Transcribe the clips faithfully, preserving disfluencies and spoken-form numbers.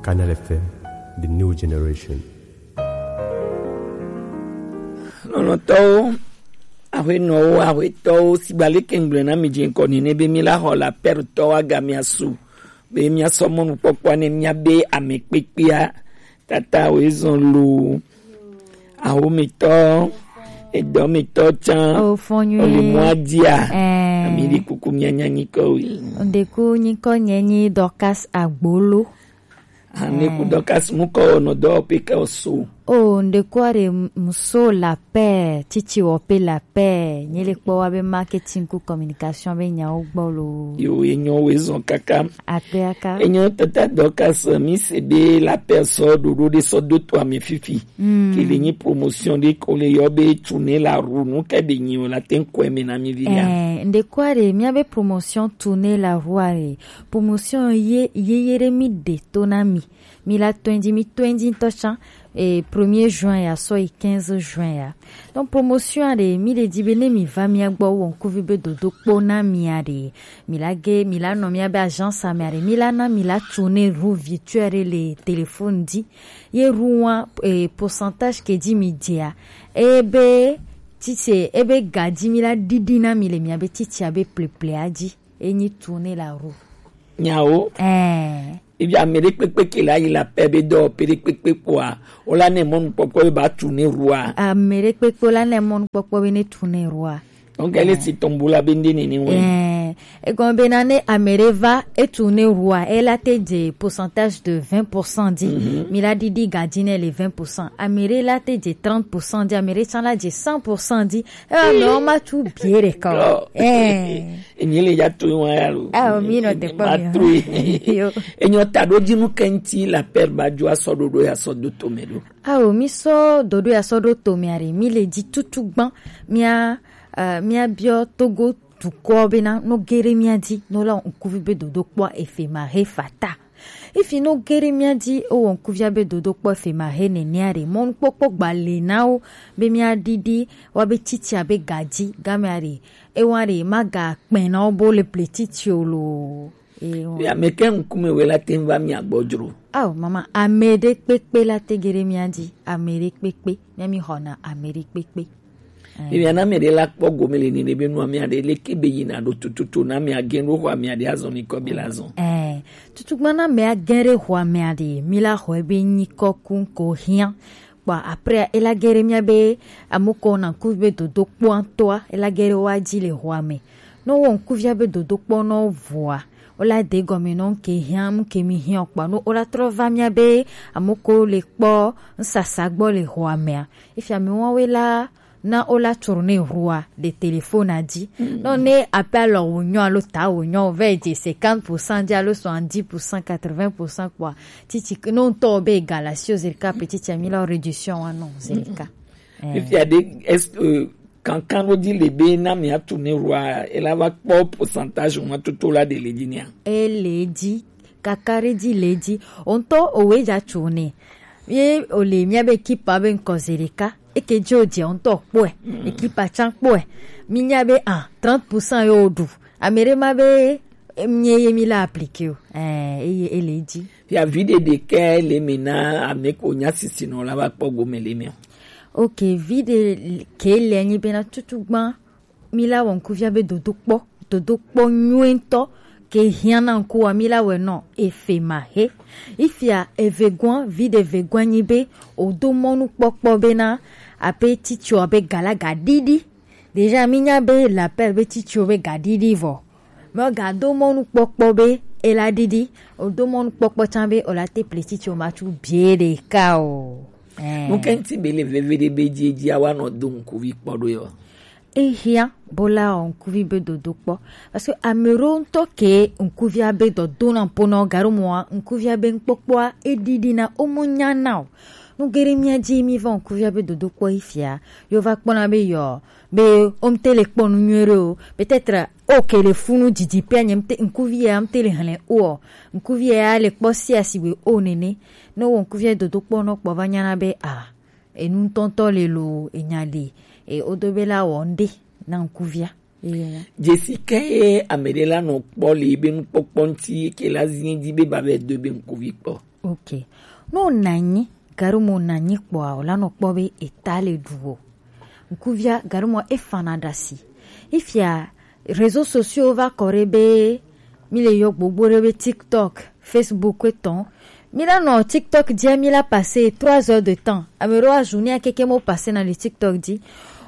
Canal F M, the new generation. Lɔlɔ̃tɔwo, aƒenɔwo, aƒetɔwo, sigba leke ŋgblɔe na mi dze ŋkɔ nene be mi la xɔ la pɛrtɔwo agamia su be miasɔ mɔnukpɔkpɔa ne miabe ame kpekpea tata woezɔn loo. Ahometɔ, edɔmetɔ tsã, o fɔnyui, ole mɔa dia. Ɛɛ. Ami ɖi kuku mianya nyikɔ wi. Ndeku nyikɔ nye nyi Dorcas Agbolo. Ane ku Dorcas mu kɔ nɔ dɔ pe ke o so. O ndeku are muso la paix, titi wo pe la paix, nye le kpɔ wa be marketing ku communication be nyawo gbɔ lo. Yo, enyo we zɔn kaka. Akpe aka. Enyo tata Dorcas, mi se be la paix sɔ ɖoɖo ɖe sɔ do to ame fifi. Mm. Ke le nyi promotion ɖe ko le yɔ be tourner la roue, nu ke be nyi o la te ŋkɔe me na mi vi ya. Eh, ndeku are mia be promotion tourner la roue are. Promotion ye, ye, ye ɖe mi ɖe to na mi. Mi la twenty, mi twenty ŋutɔ tsã, eh, premier juin ya sɔ yi quinze juin ya. Donc promotion a ɖe, mi ɖe di be ne mi va mia gbɔ wɔ ŋkuvi be dodokpɔ na mia ɖe, mi la ge, mi la nɔ mia be agence a mea ɖe, mi la na mi la tourner roue virtuelle ɖe le téléphone di. Ye roue wa, eh, pourcentage ke di mi dia, ebe titse, ebe ga di mi la ɖiɖi na mi le mia be titse a be pleple a di. Enyi tourner la roue. Nyawo. Eh. Ebi ame ɖe kpekpe ke la yi la paix be dɔ pe ɖe kpekpe kpɔa, o la ne mɔnukpɔkpɔ be ba tourner roue a. Ame ɖe kpekpe o la ne mɔnukpɔkpɔ be ne tourner roue a. Donc, elle est si tombola be nde nene wɛ. Eh, egɔme be na ne ame ɖe va e tourner roue a, e la te dze pourcentage de vingt pour cent di. Mhm. Mi la ɖiɖi ga di ne le vingt pour cent. Ame ɖe la te dze trente pour cent di, ame ɖe tsã la dze cent pour cent di. Eh, mais on m'a tout bien, d'accord. Eh. Enyi le ya to wa ya lo. Ah, mi nɔ te kpɔ ma mi. Enyo ta ɖo dzi nu ke ŋti la paix ba dzo asɔ ɖoɖo ya sɔ do to me ɖo. Ao, mi sɔ ɖoɖo ya sɔ ɖo to me are, mi le dzi tutu gbã. Mia, eh, mia biɔ Togo dukɔ bena no gere mia dzi, no la ŋkuvi be dodokpɔ efe ma he fata. Ifi no gere mia dzi, o wɔ ŋkuvia be dodokpɔ efe ma he nenea ɖe, mɔnukpɔkpɔ gba le na wo, be mia ɖiɖi, wa be titsia be ga dzi, gamea ɖe, e wa ɖe, ma ga kpɛ na wo bo le ple titsi o lo. E wa. Ya me ke ŋkume we la te va mia gbɔ dzro. Ao, mama, ame ɖe kpekpe la te gere mia dzi, ame ɖe kpekpe, mia mi xɔna ame ɖe kpekpe. Ebi ana me ɖe la kpɔ gome le nene be nua mea ɖe leke be yina ɖo tututu na mea gen ɖo xɔ amea ɖe azɔ mi kɔ bi la zɔn. Eh, tutugba na mea gen ɖe xɔ amea ɖe, mi la xɔe be nyikɔ ku ko hiã. Kpɔ après, e la gen ɖe mia be amoko na ŋkuvi be dodokpɔ ŋutɔa, e la gen ɖe wa dzi le xɔa me. No wɔ ŋkuvia be dodokpɔ no vɔa, o la de gɔme no ke hiã, mu ke mi hiã kpɔ, no o la trɔ va mia be amoko le kpɔ ŋsasa gbɔ le xɔa mea. Efia mi wa we la na o la tourner roue a ɖe téléphone a dzi. Mm. Non, ne appel wò nyɔ alo ta wò nyɔ, o vɛ dze cinquante pour cent dzi alo soixante-dix pour cent, quatre-vingts pour cent kpɔa, titi no ŋutɔ be égal asi o zerika pe titi ami la réduction wa non zerika. Eh. Fifia ɖe, est-ce que kankan ɖo dzi le be na mi a tourner roue a, e la va kpɔ pourcentage wa toto la ɖe le dzi nea? E le dzi, kaka ɖe dzi le dzi. O ŋutɔ o we dza tourner. Ye o le mia be équipe a be ŋkɔ zerika. Eke dzi o dze ŋutɔ kpɔe, mm, ekipa tsã kpɔe. Mi nya be, ah, trente pour cent yo ɖu. Ame ɖe ma be, em, nye ye mi la appliquer o. Eh, eye ele edzi. Fia vi ɖe ɖe ke le mi na ame ko nya sisi nɔ la va kpɔ gome le mi o. Ok, vi ɖe ke le nyi be na tutu gbã. Mi la wɔ ŋkuvia be dodokpɔ, dodokpɔ nyuietɔ ke hiã na ŋkuwa mi la wɛ nɔ efe ma he. Ifia evegɔa, vi ɖe vegɔa nyi be o do mɔnukpɔkpɔ be na ape titio be galaga ɖiɖi. Déjà mi nya be l'appel be titio be ga ɖiɖi vɔ. Mais o ga do mɔnukpɔkpɔ be e la ɖiɖi, o do mɔnukpɔkpɔ tsã be o la te ple titio ma tsu bie ɖeka o. Eh. Nu ke ŋti be le veve ɖe be dzi dzi awa nɔ do ŋkuvi kpɔ ɖo yɔ. Ehiã bo la wɔ ŋkuvi be dodokpɔ. Parce que ame ɖewo ŋutɔ ke ŋkuvia be dɔdona ƒo na wo gaɖo mɔa, ŋkuvia be ŋkpɔkpɔa eɖiɖi na wo mo nya na o. Nu geɖe mia dzi mi va ŋkuvia be dodokpɔ yi fia. Yo va kpɔna be yɔ, be wo ŋte le kpɔ nu nyuie ɖe o. Peut-être o ke le funu didi pia nye ŋte, ŋkuvi ya ŋte le hlẽ o. Ŋkuvi ya le kpɔ si asigbe o nene. Ne wo ŋkuvia dodokpɔ nɔ kpɔ va nyana be a. Enu ŋutɔŋutɔ le lo, enya le, e, wodo be la wɔ ŋɖe na ŋkuvia. Eye ya. Dzesi ke ye ame ɖe la nɔ kpɔ le ebe nukpɔkpɔ ŋuti ke la zi di be ba be do be ŋkuvi kpɔ. Ok. No nanyi, gaɖo mo nanyi kpɔa, o la nɔ kpɔ be eta le ɖu o. Ŋkuvia gaɖo mo e fana ɖasi. Ifia réseaux sociaux va kɔ ɖe be mi le yɔ gbogbo ɖe be TikTok, Facebook etɔn. Mi la nɔ TikTok dia mi la passer trois heures de temps. Ame ɖewo azu ni akeke mo passer na le TikTok di.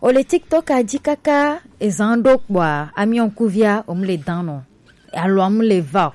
O le TikTok a di kaka ezan ɖo kpɔa, ami ŋkuvia o mu le dan nɔ. Alo amu le va o.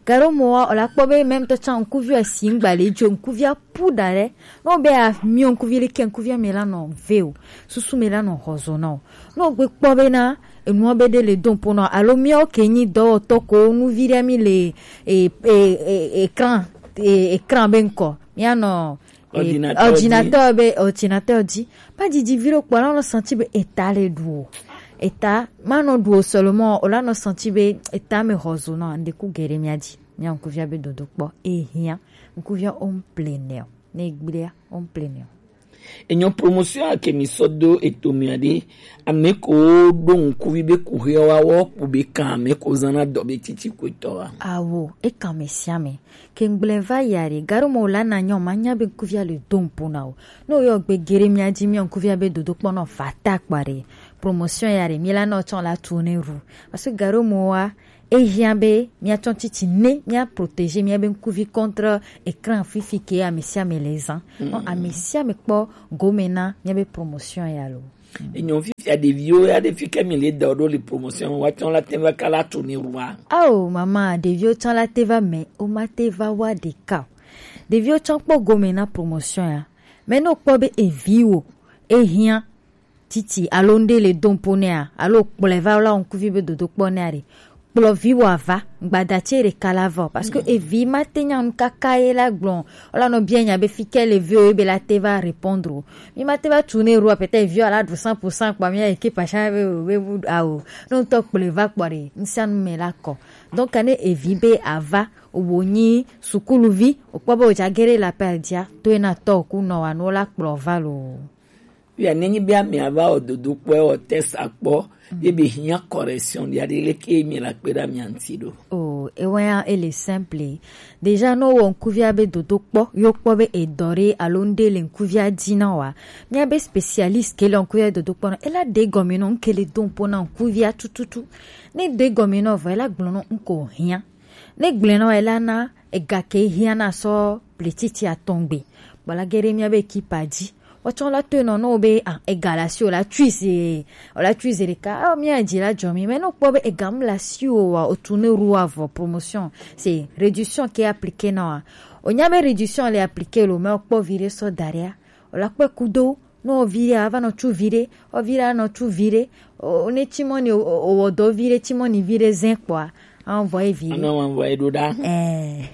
Gaɖo mo wa, o la kpɔ be même tɔ tsan ŋkuvi o si ŋgba le jo ŋkuvia pu da ɖe. No be a mi ŋkuvi le ke ŋkuvia me la nɔ ve o. Susu me la nɔ hɔzo na o. No gbe kpɔ be na enua be de le don po na o. Alo mi o ke nyi dɔwɔtɔ ko nu vi ɖe mi le e, e, e, écran, e, écran be ŋkɔ. Mi anɔ e, Ordinateur di. Ordinateur be, ordinateur di. Pas didi vi ɖo kpɔ la nɔ senti be eta le ɖu o. Eta ma nɔ ɖu o seulement o la nɔ senti be eta me hɔzo nɔ ande ku geɖe mia di. Mia ŋkuvia be dodo kpɔ. E hia. Ŋkuvia o ŋple ne o. Ne gblea o ŋple ne o. Enyo promotion a ke mi sɔ do eto mia de. Ame ko ɖo ŋkuvi be kuhe wa wɔ kpo be kan ame ko zana dɔ be titi ko etɔ wa. Awo, e kan me sia me. Ke ŋgble va ya ɖe, gaɖo mo la na nyɔ ma nya be ŋkuvia le do ŋpo na o. No yɔ gbe geɖe mia di mia ŋkuvia be dodo kpɔ nɔ fata kpa ɖe. Promotion ya ɖe, mi la nɔ tsɔ la tourner roue. Parce que gaɖo mo wa, e hia be mia tsɔ titi ne, mia protéger mia be ŋkuvi contre écran fifi ke ame sia ame le zan. No ame sia ame kpɔ gome na mia be promotion ya lo. Enyo fifia ɖeviwo ya ɖe fi ke mi le da ɖo le promotion wa tsɔ la te va ka la tourner roue wa. Ao mama, ɖeviwo tsɔ la te va me, o ma te va wa ɖeka o. Ɖeviwo tsɔ kpɔ gome na promotion ya. Me no kpɔ be evi wo, e hia titi alo ŋɖe le do ŋpo nɛa, alo kplɔe va la ŋkuvi be dodo kpɔ nɛa ɖe, kplɔ vi wɔ ava, gbada tse ɖeka la va o, parce que evi ma te nya nu kaka ye la gblɔ, o la nɔ bia nya be fi ke le vi o ye be la te va répondre o. Mi ma te va tourner roue a, peut-être evi o la ɖu cent pour cent kpa mi ya ke pasha be o be bu a o. No ŋutɔ kplɔe va kpɔ ɖe, ŋsia nu me la kɔ. Donc ne evi be ava, o wo nyi sukuluvi, o kpɔ be o dza geɖe la pɛ dia, to ena tɔ ku nɔ wa no la kplɔ va lo. Via nenyi be amea va wɔ dodo kpɔe wɔ test akpɔ ye be hiã correction ɖia ɖe leke mi la kpe ɖe amea ŋuti ɖo. O ewa ya ele simple. Déjà no wɔ ŋkuvia be dodo kpɔ yo kpɔ be edɔ ɖe alo ŋɖe le ŋkuvia dzi na wa. Mia be spécialiste ke le ŋkuvia dodo kpɔ na ela ɖe gɔme nɔ ŋke le do ŋpo na ŋkuvia tututu. Ne ɖe gɔme nɔ vɔ ela gblɔ nɔ ŋko hiã. Ne gblẽ nɔ ela na ega ke hiã na sɔ pletiti atɔngbe. Bɔla geɖe mia be ekipa dzi. Wotsɔ la toe nɔ no be ah ega la si o la tui se o la tui se ɖeka ah mia dzi la dzɔ mi mais no kpɔ be ega mu la si o wa o tourner roue wa vɔ promotion c'est réduction ke appliqué na wa o nya be réduction le appliqué lo mais o kpɔ vi ɖe sɔ da ɖea o la kpɔe kudo no o vi ɖe a va nɔ tu vi ɖe o vi ɖe a nɔ tu vi ɖe o ne tsimɔ ni o wɔ dɔ vi ɖe tsimɔ ni vi ɖe zɛ kpɔa a vɔ ye vi ɖe ana wa vɔ ye ɖo ɖa ɛɛ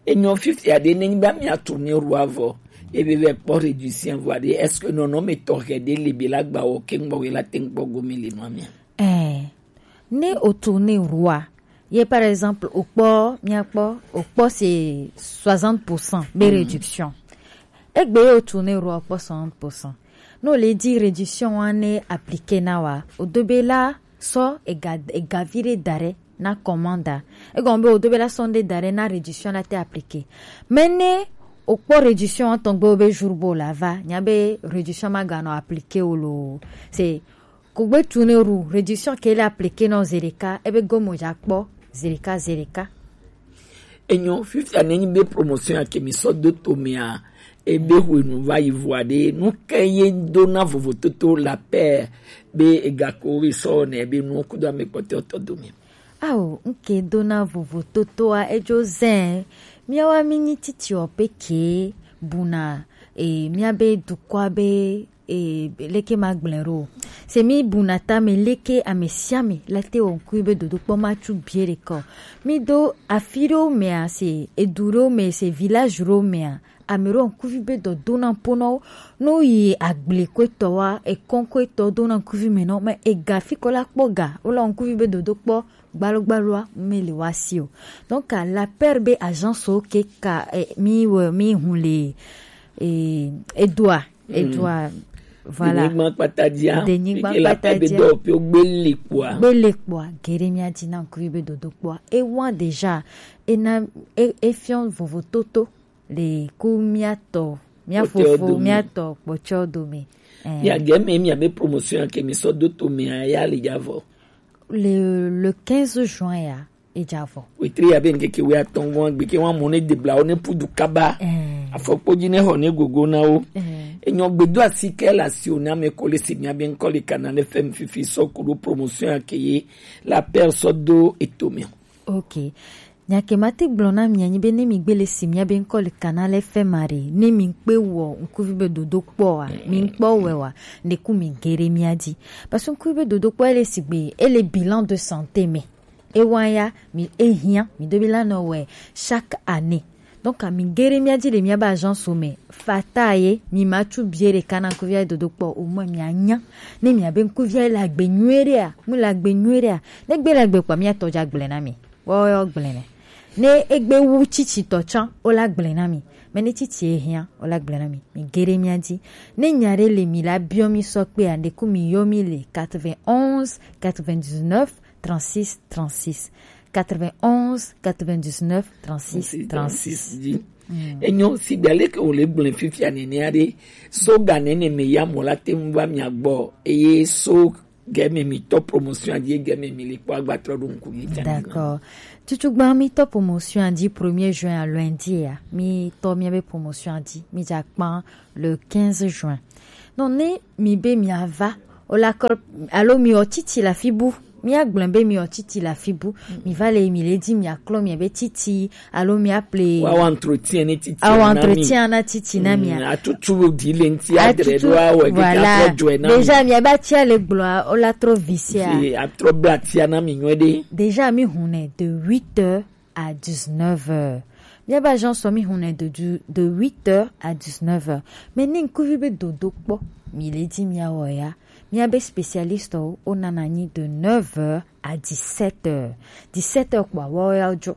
Enyo fifia ɖe ne nyi be amia tourner roue wa vɔ ebe vɛ kpɔ réduction vɔ aɖe est-ce que nɔnɔme tɔxɛ ɖe le be la gba wɔ ke ŋgbɔ we la te ŋkpɔ gome le nua mia? Ɛɛ, ne o tourner roue wa, ye par exemple o kpɔ mia kpɔ o kpɔ c'est soixante pour cent be réduction. Egbe ye o tourner roue wa o kpɔ soixante pour cent. No le di réduction wa ne appliquer na wa o do be la sɔ ega ega vi ɖe da ɖe na commande a. Egɔme be o do be la sɔ ŋɖe da ɖe na réduction la te appliquer. Mais ne o kpɔ réduction tɔn gbe o be jour bo la va nya be réduction ma ga nɔ appliquer o lo. C'est kugbe tourner roue réduction ke le appliquer nɔ zi ɖeka ebe gome o dza kpɔ zi ɖeka zi ɖeka. Enyo fifia ne nyi be promotion ya ke mi sɔ do to mea ebe hwenu va yi vɔ aɖe nu ke ye do na vovototo la paix be egako we sɔ ne ebe nuwo kudo ame kpɔtɔe tɔ do mi. Ao nke do na vovototoa edzo zɛ miawa mi nyi titi o pe ke buna e mia be dukɔa be e leke ma gblẽ ɖo se mi buna tame leke ame sia ame la te wɔ ŋkui be dodokpɔ ma tsu bie ɖe kɔ mi do afi ɖewo mea se edu ɖewo me se village ɖewo mea ame ɖewo ŋkuvi be dɔ dona ŋpo na wo ne wo yi agble ko etɔ wa ekɔn ko etɔ dona ŋkuvi me na wo me ega fi ko la kpɔ ga wo la wɔ ŋkuvi be dodokpɔ gbalogbaloa me le wa si o donc la paix be agence wo ke ka eh, mi wɔ mi hun le eh, edua edua voilà denyigba kpata dia denyigba kpata dia dɔ pe gbele kpɔa gbele kpɔa geɖe mia di na ŋkuvi be dodokpɔa ewa déjà ena e efiɔ vovototo Le ku mia tɔ, mia fofo, mia tɔ kpɔtsɔ dome. Eh. Ya ge me mia be promotion ke mi sɔ do to me ya le javɔ. Le, le quinze juin ya, e javɔ. Wetri ya be nkeke we atɔn vɔn gbe ke wa mo ne debla o ne pudu kaba. Eh. Afɔkpodzi ne xɔ ne gogo na wo. Eh. Enyɔ gbedo asi ke la si o na me ko le si mia be nkɔ le kana le fɛn fifi sɔ kudo promotion ya ke ye la per sɔ do eto me. Ok. Nyake ma te gblɔ na mia nyi be ne mi gbe le si mia be nkɔ le kana le fɛ ma re, ne mi kpe wɔ nkuvi be dodo kpɔ wa, mi kpɔ wɛ wa, ne ku mi gere mia di. Parce que nkuvi be dodo kpɔ ele sigbe, ele bilan de santé me. E wa ya, mi e hiã, mi do bi la nɔ wɛ chaque année. Donc, mi gere mia di le mia ba agence me, fata ye, mi ma tu bie le kana nkuvi be dodo kpɔ, o mo mi anya. Ne mi abe nkuvi la gbe nyuere a, mu la gbe nyuere a. Ne gbe la gbe kpɔ, mia tɔ ja gble na mi. Woyɔ gblẽ nɛ. Ne egbe wu tsitsitɔ tsã, wola gblẽ na mi. Mɛ ne tsitsi ehiã, wola gblẽ na mi. Mi geɖe mía dzi. Ne nya ɖe le mi la biɔ mi sɔ kpea, ɖeku mi yɔ mi le quatre-vingt-onze, quatre-vingt-dix-neuf, trente-six, trente-six. Quatre-vingt-onze, quatre-vingt-dix-neuf, trente-six, trente-six. Dzi. Mm. Enyo, si ɖe leke wòle gblẽ fifia nenea ɖe, so ga nene me ya mɔ la te ŋu va mia gbɔ, eye so Gɛmɛ mi tɔ promotion dzi, gɛmɛ mi li kpɔ agbatrɔ ɖo ŋku mi tsa. D'accord. Tutu gba mi tɔ promotion dzi premier juin à lundi ya. Mi tɔ mi be promotion dzi. Mi dza kpan le quinze juin. Non, ne mi be mi ava, o la kɔ, alo mi o titi la fibu. Mi a gblẽ be mi o titi la fibu. Mi va le mi le di mi a klɔ mi be titi. Alo mi a ple. Wa wa entretien ni titi. Awa na mi. Entretien na titi na mi a. Mm, atutu di le nti adre do awe ke voilà. Atro joe na mi. Déjà, mi a ba tia le gblɔ, o la trop vicié a. Si, atro bla tia na mi nyuie ɖe. Déjà, mi hune de huit heures à dix-neuf heures. Mi a ba agence mi hune de du, de huit heures à dix-neuf heures. Mais ni nkuvi be dodo kpɔ, mi le di mi a wo ya. Mi a be spécialiste o, o nana nyi de neuf heures à dix-sept heures. Dix-sept heures kpɔ, wo ya jo.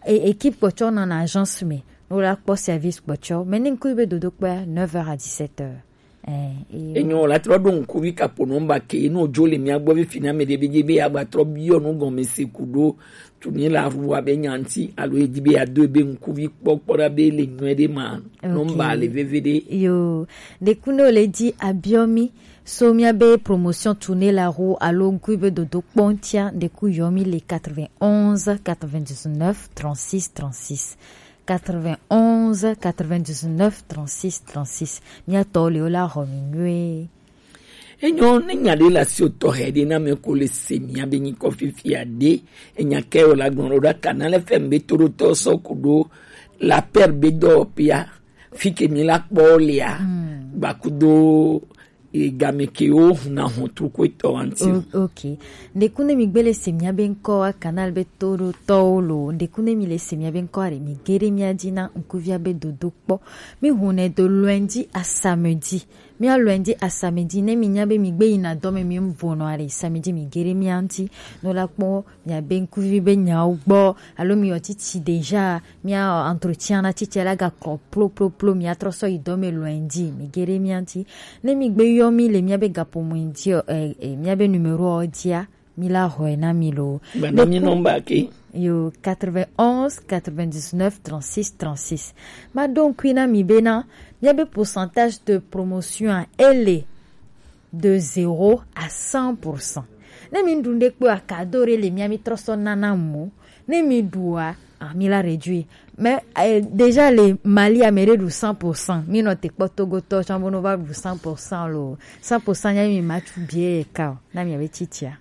E, équipe kpɔtsɔ nɔ na agence me. No la kpɔ service kpɔtsɔ. Mais ni nku be dodo kpɔ neuf heures à dix-sept heures. Eh, eh. Enyo la trɔ ɖo ŋkuvi kapo nɔmba ke no jo le mia gbɔ be fina me de be dzi be ya gba trɔ biɔ nu gɔme se ku ɖo tu ni la ru wa be nyanti alo e di be ya do be ŋkuvi kpɔ kpɔ ɖa be le nyuie ɖe ma. Ok. Nɔmba le veve ɖe. Yo, ɖeku no le di abiɔ mi. So mia be promotion tournée la ro alo ŋku be dodo kpɔ ŋtia, ɖeku yɔ mi le quatre-vingt-onze, quatre-vingt-dix-neuf, trente-six, trente-six. Quatre-vingt-onze, quatre-vingt-dix-neuf, trente-six, trente-six. Mia tɔ le o la xɔ mi nyuie. Enyo ne nya ɖe la si o tɔ he ɖe na me ko le se mia be nyi kɔ fifia ɖe. Enya ke o la gbɔn ɖo ɖa kana le fɛn be to ɖo tɔ sɔ ku ɖo la per be dɔ pia. Fi ke mi la kpɔ lea, mm, gbakudo, e, game ke wo huna hɔn truko etɔ wa ŋti. O-, ok. Ɖeku ne mi gbe le se mia be ŋkɔ wa canal be to ɖo tɔwo lo. Ɖeku ne mi le se mia be ŋkɔ wa ɖe mi geɖe mia dzi na ŋkuvia be dodo kpɔ. Mi hune do lundi à samedi. Mia lundi à samedi ne mi nya be mi gbe yina dɔ me mi vo nɔ aɖe samedi mi geɖe mia ŋti. No la kpɔ mia be ŋkuvi be nyawo gbɔ, alo mi yɔ titi déjà, mia entretien na titi la ga kɔ plo, plo, plo, mia trɔ sɔ yi dɔ me lundi, mi geɖe mia ŋti. Ne mi gbe yɔ mi le mia be gapo mo ŋti, eh, eh, mia be numéro o dia, mi la xɔe na mi lo. Gba na mi nɔmba ke. Yo, quatre-vingt-onze, quatre-vingt-dix-neuf, trente-six, trente-six. Ma ɖo ŋkui na mi be na, mia be pourcentage de promotion a, ele de zéro à cent pour cent. Ne mi ɖu ɖe kpe a cadeau ɖe le mia mi trɔ sɔ nana mo. Ne mi ɖua, ah, mi la réduit. Mais, eh, déjà le Mali a me ɖe ɖu cent pour cent. Mi nɔ te kpɔ Togo tɔ tsã bo no va ɖu cent pour cent lo. Cent pour cent nya mi ma tu bie ka o. Na mi ave titia.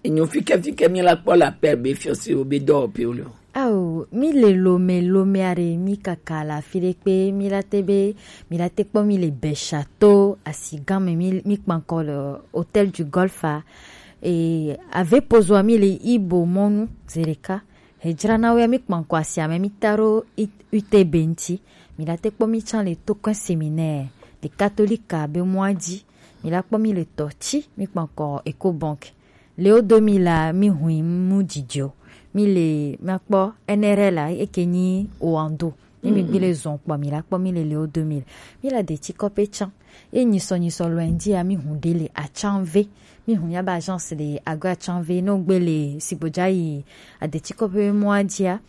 Enyo fike fike mi la kpɔ la per be fiɔ si o be dɔ pe o lo. Ao, mi le Lomé, Lomé aɖe mi kaka le afi ɖe kpe, mi la te be, mi la te kpɔ mi le Bɛshato, Asigame, mi, mi kpankɔ le Hôtel du Golfe a, e, ave pozoa mi le Ibo mɔnu, zeɖeka, hedzra na wo ya mi kpankɔ asiame mi ta ɖo I-, U T B ŋti, mi la te kpɔ mi tsã le Tokɔe Séminaire, le Katolika be mɔa dzi, mi la kpɔ mi le Tɔtsi, mi kpankɔ Ecobank. Le wo do mi la, mi hui mu dzidzɔ. Mi le, mi akpɔ N R L a, eke nyi Oando. Mi mi gbi le zɔn kpɔ mi la kpɔ mi le le wo do mi. Mi la de tsi kɔpe tsã. Ye nyisɔ nyisɔ lɔɛ ndi a mi hu de le atsanve. Mi hu ya ba agence de agɔ atsanve. No gbe le sigbodza yi a de tsi kɔpe mɔa dzia.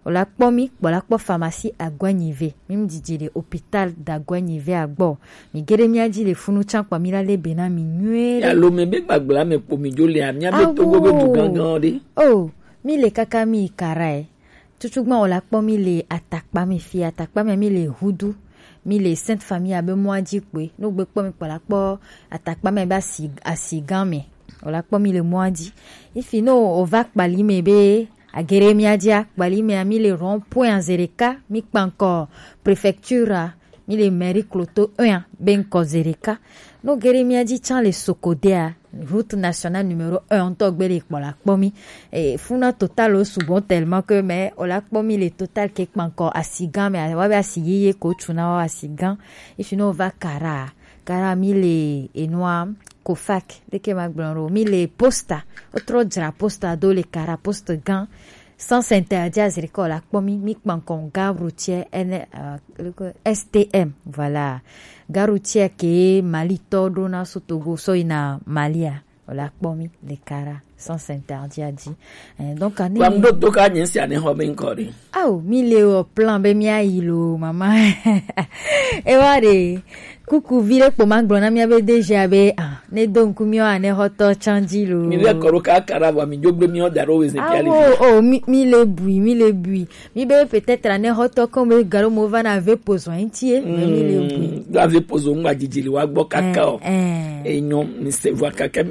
O la kpɔ mi kpɔ la kpɔ pharmacie Aguenyive. Mi mi didi le hôpital d'Aguenyive agbɔ. Mi gere mi adi le funu tsan kpɔ mi la le be na mi nyuie ɖe. Alo me be gbagbla me kpo mi jo le a, mi abe Togo be du gangan ɖe. Oh, mi le kaka mi kara e. Tutugbã o la kpɔ mi le atakpa me fi, atakpa me mi le hudu, mi le Sainte Famille abe mɔa dzi kpoe. No gbe kpɔ mi kpɔ la kpɔ atakpa me be asi, asi gã me. O la kpɔ mi le mɔa dzi. Ifi no o va kpali me be agere mi adia kpali me mi le rond point zereka mi kpankɔ préfecture a, mi le mairie kloto un a be nkɔ zereka. No gere mi adi tsan le Sokodea, route nationale numéro un ŋutɔ gbe le kpɔ la kpɔ mi. E, funa total o sugbɔ tellement que mais o la kpɔ mi le total ke kpankɔ asi gã me, wa be asi yeye ko tsu na wa asi gã. Ifi no va kara, kara mi le enua Kofac, de ke ma gblɔ ɖo, mi le posta, o trɔ dzra posta do le kara poste gã. Sens interdit aziri ke o la kpɔ mi, mi kpankɔ gare routière N, euh, S T M, voilà. Gare routière ke Mali tɔ ɖo na so Togo so yina Mali a, o la kpɔ mi le kara sens interdit a dzi. Eh, donc ani. Wa mu ɖo to ka nye sia ne xɔ be ŋkɔ ɖe. Awo, mi le o plan be mi ayi lo, mama. E wa ɖe. Kuku vi ɖe kpo ma gblɔ na mía be D G a be, ah, ne do ŋku míawo anexɔtɔ tsã dzi lo. Mi vɛ kɔ ɖo kaka ɖa vɔa mi dzo gbe míawo da ɖo wezɛ fia le. Awo, o, mi, mi le bui, mi le bui. Mi be peut-être anexɔtɔ kɔ be galo mo va na ve pozo ŋuti e, mais mi le bui. Mm, do ave pozo ŋgba dzidzi le wa gbɔ kaka o. Eh, eh. Enyo, mi se vɔa kaka